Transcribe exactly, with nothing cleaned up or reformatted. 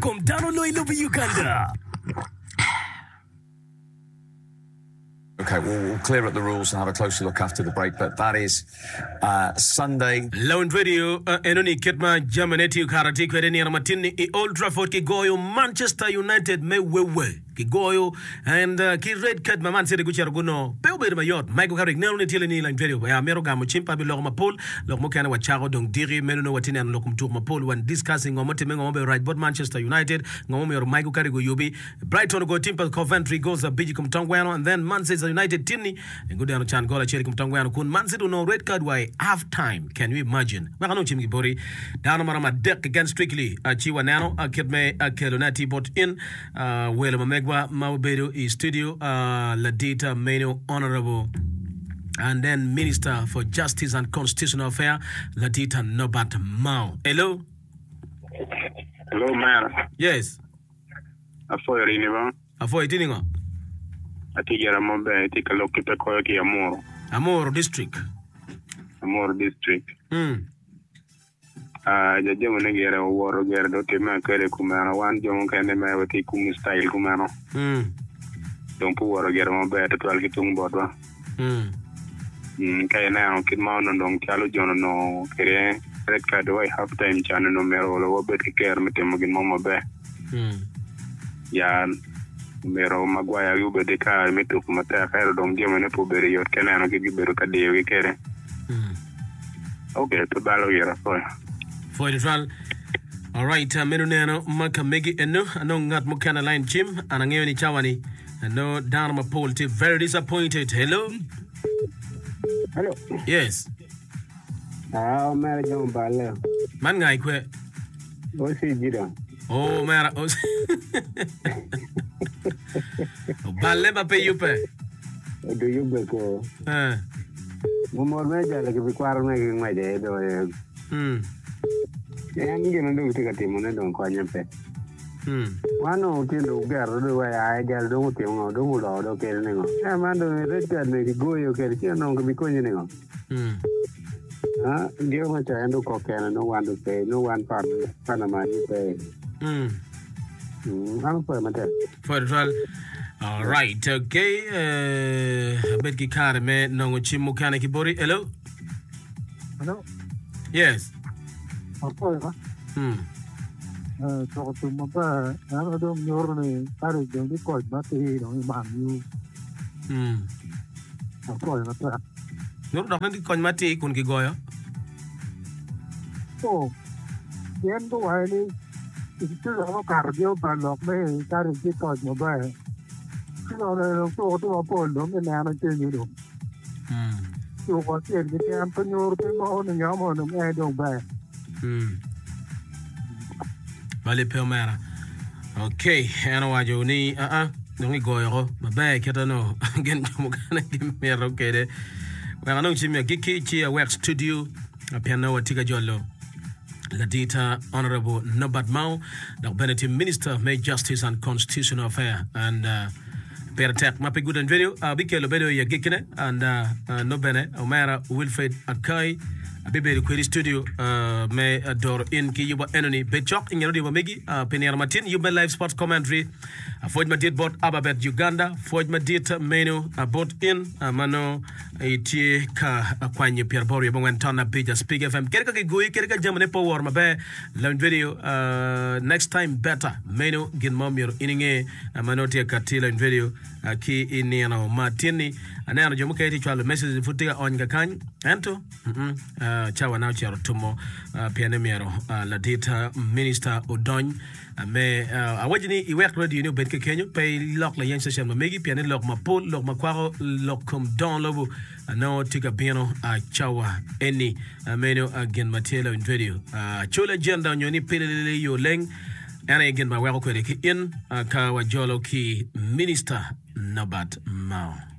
Kom dano loyo i lobo Uganda. Okay, we'll, we'll clear up the rules and have a closer look after the break, but that is uh, Sunday. Lawiny Radio uh, enoni kit ma jamine tye kara tye kwede nino matin ni i Old Trafford kigoyo Manchester United me wewe kigoyo and uh, ki red card ma Man City gucito guno pe obedo mayot Michael Carrick neno ni tye ni Lawiny Radio ya mito gamo cim pa biloko mapol lok mukene wacako dong diki meno no watye neno lok kom tuko mapol wan discussing ngo motime ngo mabedo rac bot Manchester United ngo momiyo Michael Carrick oyubi Brighton ogoyo team pa Coventry goals abic i kom tong gweno and then Manchester United tinni gudeno can gol acel i kom tong gweno kun Man City onongo red card wa i half time can you imagine wek anong cim giboti dano maromo adek keken strictly uh, ci waneno uh, kit me uh, kelone atir bot in uh, welo ma megwa ma obedo i studio uh, ladit meno honorable and then Minister for Justice and Constitutional Affairs Ladita Norbert Mao. Hello? Hello, man. Yes. Afoyo rini ba? Afoyo itye ningo? Atye gira maber, itye ka lok ki pe koyo ki Amuru. Amuru District. Amuru District. Mm. Ah, jajamo ne gire owoto gire do timme akede kumeno. Wan jo mukene me watye kumu style kumeno. Mm. Dong pe owoto gire maber tutwal ki tung botwa. Mm. Mm, ka ineno kit ma onongo dong calo jo onongo kede red card wa i half time can onongo myero olo wabed ki kero me timo gin mo maber. Mm. Ya myero Maguire gi obed ki kare me tuko matek ento dong jamine pe obedo yot ka ineno kit gibedo ka diyogi kede. Mm. Okay, pe balo gira afoyo. Foyo tutwal. Alright, uh, meno neno ma ka megi eno anong ngat mukene line cim an angeyo ni cawa ni ano dano mapol tye very disappointed. Hello? Hello. Yes. Ah, omera jo balle. Man ngai kwe. Osi Gideon. Oh, omera. Osi. Oballe ma pe yubbe. Odo yubbe ko. Eh. Mumor me jalo ki bikwaro me ki ngwece do. Mm. En gin dong tye ka timone dong konye pe. Mm. Wan dong tye dong gero dong wa ya jalo dong otimo ngo dong oloko dong kede ningo. Eh man dong red card ni kigoyo kede ci onongo kibikonyi ningo. Mm. Ah, gio ma ca en dong kok kene no wan dong pe no wan pan panama ni pe. Mm. Mm, an opwoyo matek. Foyo tutwal. Alright, okay. Uh, abed ki kare me nongo cim mukene ki boti. Hello? Hello, Yes. apwoyo ba. Mm. Eh, Tuko tum maber, ento dong nyuto ni kadi dong tye koc matir dong i Man U. Mm. Apwoyo matek. Nyuto dok ni tye kony matir kun kigoyo. Oh, pien guwaco ni season mukato gin oba lok me kadi tye koc maber. Season eni dong tuko tye mapol dong kineno kenyo dong. Mm. Tuko acel keken pe nyuto pe moko ni ngat mo dong en dong ber. Mm. Bali pe omera. Okay, en owaco ni aa dong igoyo ko maber kite no gin jo mukene gimito kede. Wek anong cim agikki ci awek studio pien nongo watye ka jolo ladita Honorable Norbert Mao dok bene tye Minister me Justice and Constitutional Affairs and uh, pire tek ma pe Good and Radio abikelo bedo i agikkine and uh, uh, no bene omera Wilfred Akai abibedo kwedi i studio uh, me uh, doro in ki yuba enoni bed cok i nget radio ma megi uh, pi nino matin yub me live sports commentary uh, pwoc madit bot Ababet Uganda pwoc madit meno uh, bot in uh, ma nongo itye ka kwanyo pyeraboro wiye abongwen ton abic Speak F M kede ka kigoyi kede ka jamine pe oworo maber Lawiny Radio uh, next time better meno gin ma omyero in inge uh, ma nongo tye ka kati Lawiny Radio uh, ki i nino ma tin-ni aneno jo mukene tye cwalo message pud tye ka ony kakany ento mm -mm, uh, cawa na ocito tumo uh, pien ni myero uh, ladit uh, minister odony uh, me uh, awaco ni iwek radio ni obed kekenyo pe ilok layeny station ma megi pien ni lok mapol lok ma kwako lok kom dongo lobo uh, nongo tye ka bino uh, cawa eni uh, meno uh, gin ma tye Lawiny Radio uh, col agenda onyo ni pililili yo leng en aye gin ma weko kwede ki in uh, ka wajolo ki minister Norbert Mao.